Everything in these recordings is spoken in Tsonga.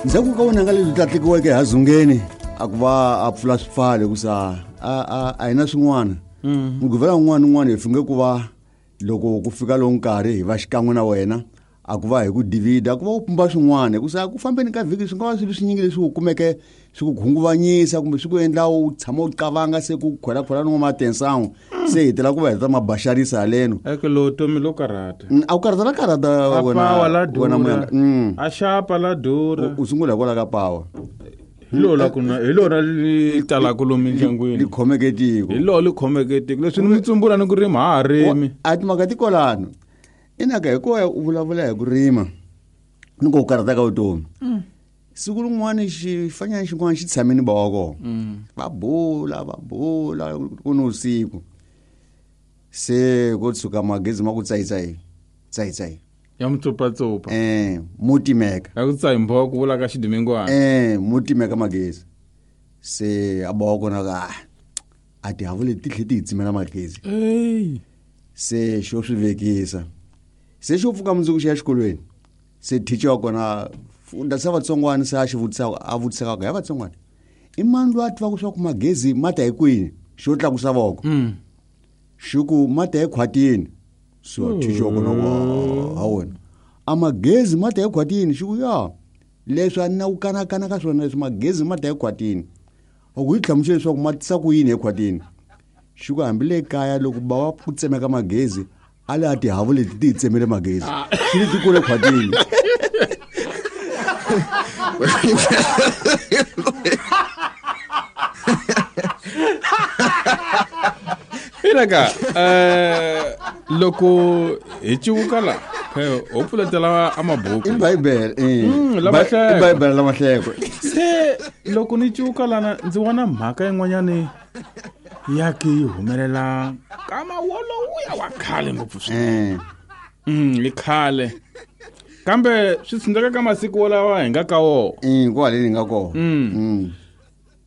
Ndzhaku ka vunanga lebyi tlatlikiweke hazungeni a ku va a pfula swipfalo hikusa a hi na swin'wana. Mugqivela wun'wana ni wun'wana hi funge ku va loko ku fika lowu nkarhi hi va xikan'we na wena, a ku va hi ku divida, a ku va u pumba swin'wana, hikusa ku fambeni ka vhiki swi nga va swilo swinyingi leswi u kumeke swi ku khunguvanyisa kumbe swi ku endla u tshama u qavanga se ku khwelakhwela ni n'wamatensan'we se hi tela ku va heta mabaxarisa haleno. Eke lo tomi lo karhata. A wu karhata la karhata A wena pawa la wena durha. Muyanga. A xapa la durha. U sungula hikwalaho ka pawa. Hi lona ku na hi lona li talaka lomu mindyangwini. Li khomeke tiko. Hi lona li khomeke tiko. Leswi ni mi tsumbula ni ku rima ha ha rimi. A timhaka ti kwalano. Inaka hikuva u vulavula hi ku rima ni ku karhata ka vutomi. Siku rin'wana xifanyana xin'wana xi tshame ni bava kona. Va bula, va bula ku ni vusiku. Se ko tshuka magezi ma ku tsayitsayi, tsayitsayi. Ya mutsopatsopa. Mo timeka. Ya ku tsayi mbho ku vula ka xidimingwana. Mo timeka magezi. Se a bawa kona ka, a tihavu leti ti tlhe ti hi tsimela magezi. Ey. Se xo swi vekisa. Se xo pfuka mundzuku xi ya xikolweni. Se teacher wa kona funda sa vatsongwana se a xi vutisa, a vutisaka ku ya vatsongwana. I mani loyi a tivaka swa ku magezi ma ta hi kwini? Xo tlakusa voko. Xi ku ma ta ekhwatini. So teacher wa kona ku, ha wena. A magezi ma ta ekhwatini, xi ku ya. Leswi a ni na ku kanakana ka swona leswi magezi ma ta ekhwatini. A ku hi hlamusela leswaku ma tisa ku yini ekhwatini. Xi ku hambi le kaya loko ba va ku tsemeka magezi, a le a tihavu leti ti hi tsemele magezi. Xi ri ti kule khwatini. Inaka, loko hi civuka la, ho pfuletela a mabuku. I Bibele, eh. La mahleko. I Bibele la mahleko. Se loko ni civuka lana ndzi vona mhaka yin'wanyani ya ke yi humelela ka mawolowuya wa khale ngopfu swinene. I khale. Kambe swi tshundeka ka masiku wolawa hi nga ka wona. Kwale ni nga kona.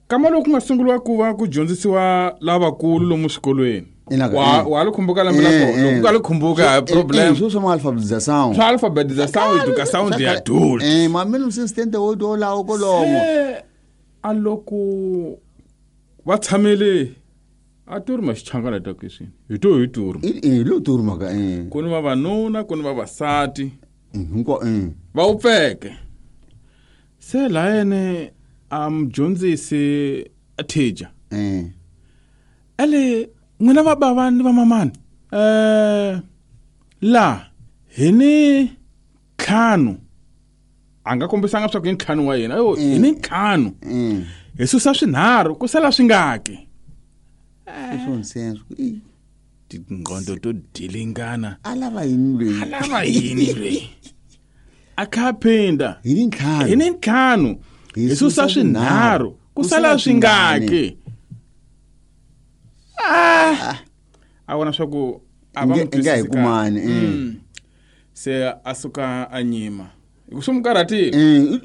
Kama loko ku nga sunguriwa ku va ku dyondzisiwa lavakulu lomu swikolweni. Inaka, Wa li khumbuka lembe la kona? Loko u nga li khumbuka, hayi problem. Swo swa alphabetization. Swa alphabetization, education de adultes. Ma mina assistant wo do lawo kolomo. Se, a loko va tshamele a turi ma xichangana ta kweswi. Hi to hi turi. Lo turi maka, eh. Ku ni vavanuna, ku ni vavasati. Hinkwa, eh. Va wupfeke. Se la yene a mudyondzisi a teacher. Ele n'wina va bava ni va mamani. La hi ni ntlhanu. A nga kombisanga swa ku i ntlhanu wa yena. Ayo, hi ni ntlhanu. Hi susa swinharhu ku sala swingaki. Swo nsenso. Ih. Tingqondo to dilingana. A lava yini loyi? A lava yini loyi? A kha phinda. Hi ni ntlhanu. Hi ni ntlhanu. Hi Hi susa susa swinharhu. swinharhu. Ku Ku sala sala swingaki? A vona swa ku a va n'wi Nge hi twisisi kahle. kumani, eh. Se a suka a nyima. Hi ku swi n'wi karhatile. I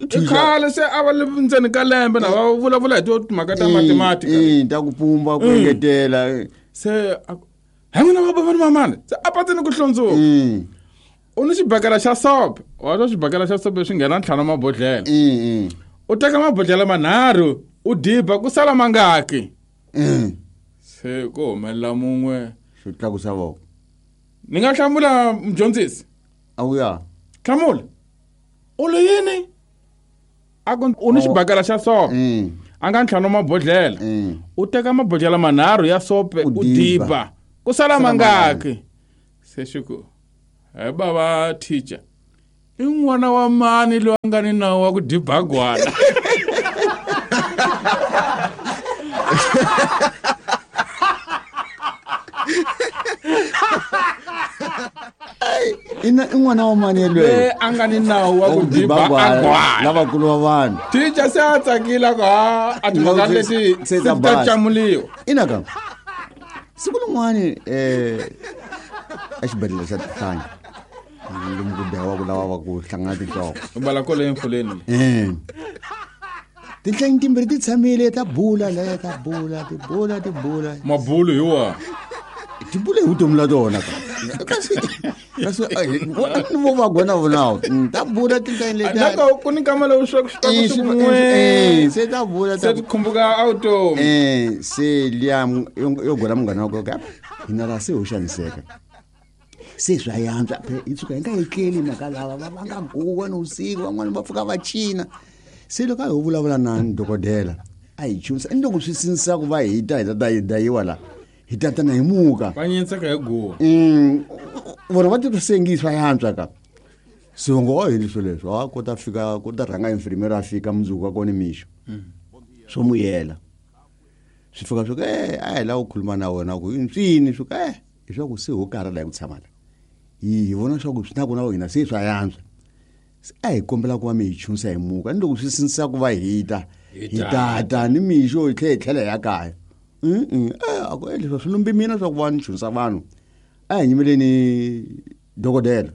I thuxa. khale se a va le ndzeni ka lembe na va vulavula hi to timhaka ta mathematics. Ta ku pumba, ku engetela. Se a ku, he n'wina va bava ni mamani. Se a patsini ku hlundzuka. U ni xibakela xa sope. Wa twa xibakela xa sope swi nghena ntlhanu mabodhlele. U teka mabodhlele manharhu, u diba ku sala mangaki. Se ku humelela mun'we. Xo tlakusa voko. Ni nga hlamula mudyondzisi? A wu ya. Hlamula. U lo yini? A ku u ni xibakela xa sope. A nga ntlhanu mabodhlele. U teka mabodhlele manharhu ya sope, U u diba. diba. Ku sala Sala mangaki? mangaki? Se xi ku, he bava teacher, i n'wana wa mani loyi a nga ni nawu wa ku diba gwala? Ina i n'wana wa mani yelweyo? Loyi a nga ni nawu wa ku Wa ku diba diba gwala, gwala. lavakulu va vanhu. Teacher se a tsakile ku, ha, a timhaka Ingaku leti se ta ti ta basa. camuliwa. Ina ka. Siku rin'wani, exibedhlele xa Tihlanyi, lomu ku dlayiwaka lava va ku hlangana tinhloko. U bala kwale emfuleni le. Tinhlanyi timbirhi ti tshamile ta bula le, ta bula, ti bula, ti bula. Mabulu hi wa? Ti bula hi vutomi la tona ka. Kasi Kasi ni vo va gona vonawo ta bula tindlela leti nako ku ni nkama lowu swa swi se ta bula se khumbuka auto se liya yo gona munghana wa koka hina la se ho xaniseka se swa yantswa hi tshuka hi nga etleli mhaka lava va nga guwa ni vusiku van'wana va pfuka va cina. Se loko a ho vulavula na dokodela a hi chunisa ni loko swi sindzisa ku va hi ta hi ta ta dayiwa la hi tatana hi muka va nyentseka hi guwa. Vona va titwa se swa yantswa ka. Se va ngo wa hi leswo leswo a ko ta fika ko ta rhanga infirmera a fika mundzuku wa kona mixo. Swo muyela. Swi fika swi ku a hi lava ku khuluma na wena ku yini swi ku hi swa ku se ho karhala hi ku tshama la. Hi vona swa ku swi na ku na hina se swa yantswa. A hi kombela ku va mi hi chunisa hi muka ni loko swi sindzisa ku va hi ta hi tata ni mixo hi tlhela hi tlhela hi ya kaya. A ku leswi swi lumbi mina swa ku va ni chunisa vanhu. A hi nyimeleni dokodela.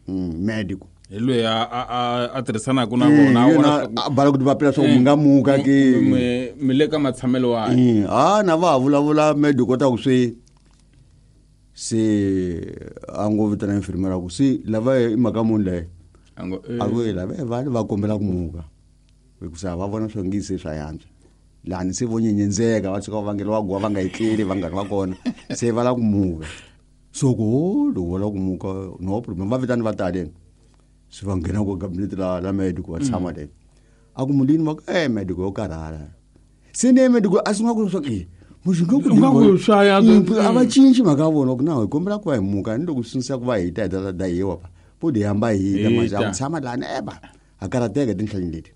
Medical. Hi loyi a tirhisanaka na vona a bala ku ti vapela swa ku mi nga muka ke. Mi le ka matshamelo wa. A na va ha vulavula medical ta ku swi se a ngo vitana infirmera ku se lava i mhaka muni leyi. A ku lava va va kombela ku muka. Hikusa va vona swa ngi se swa yantswa. Lani se vo nyenyenzeka va tshuka va vangela wa guwa va nga etleli vanghani va kona se va lava ku muka. So ku loko va lava ku muka no problem va vitani va taleni. Se va nghena ku cabinet la medical va tshama le. A ku mulini va ku medical yo karhala. Se ne medical a sungula ku swa ku ku swa a va cinci mhaka ya vona ku na hi kombela ku va hi muka ni loko swi sindzisa ku va hi ta hi ta dayiwa pa. Po di hamba hi ta manje a ku tshama lani ba a karhateka tinhlanyeni leti.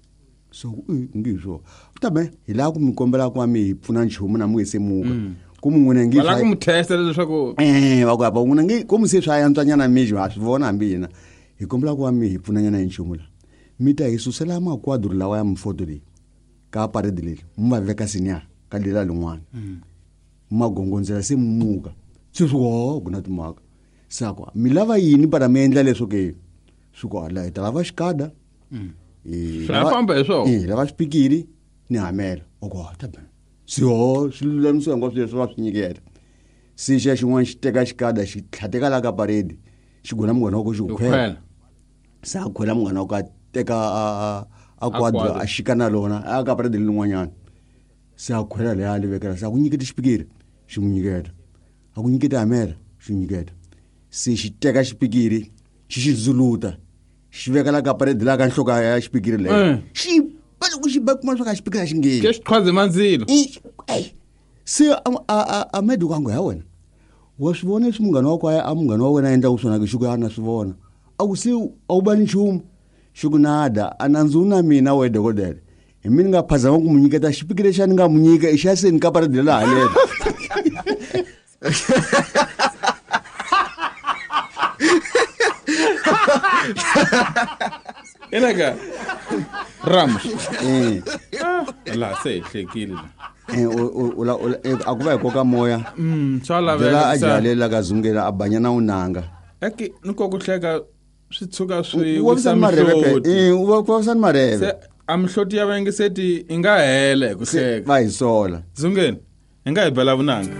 So ngi swo. Tabe hi lava ku mi kombela ku va mi hi pfuna nchumu na mu se muka. Ku mu n'wina ngi va lava ku mu testa leswaku va ku apa n'wina ngi ku mu se swa yantswanyana mixo ha swi vona hambi hina. Hi kombela ku va mi hi pfunanyana hi nchumu la. Mi ta hi susela makwadro lawa ya mifoto leyi ka parade leyi mi va veka senior ka lela lin'wana. Magongondzela se muka. Se swi wa ku na timhaka. Sakwa mi lava yini para mi endla leswo ke? Swi ku ala hi ta lava xikada. Swi famba hi swona. Lava xipikiri ni hamela. Oko ta ba. Se ho swi lulamisiwa hinkwaswo leswi va swi nyiketa. Se xa xin'wana xi teka xikada xi tlhateka la ka parade xi gona munghana wa ko xi ku khwela. Se a khwela munghana wa ko a teka a kwadro a xika na lona a ka parade lin'wanyana. Se a khwela leya a li vekela se a ku nyiketa xipikiri xi n'wi nyiketa. A ku nyiketa hamela xi nyiketa. Se xi teka xipikiri xi xi ndzuluta xi veka la ka parade la ka nhloko ya xipikiri leyo. Xi ba loko xi ba kuma swa ka xipikiri a xi ngheni. Ke xi qhwaze mandzilo. Se a medical a ngo ya wena. Wa swi vona leswi munghana wa ku a munghana wa wena a endlaka swona ke xi ku a na swi vona. A ku se a wu bani nchumu. Xi ku nada a nandzu na mina we dokodela. Hi mina nga phazama ku mu nyiketa xipikiri lexi a ni nga mu nyika i xa se ni ka parade la haleni. Inaka Ramos. La se hi hlekile la. A ku va hi koka moya. Swa laveka. A jalela ka zungela a banyana unanga. Eki ni ko ku hleka swi tshuka swi wisa mihloti. U vavisa ni mareve. A mihloti ya vayingiseti yi nga hela hi ku hleka. Va hi sola. Zungeni, hi nga hi bela vunanga.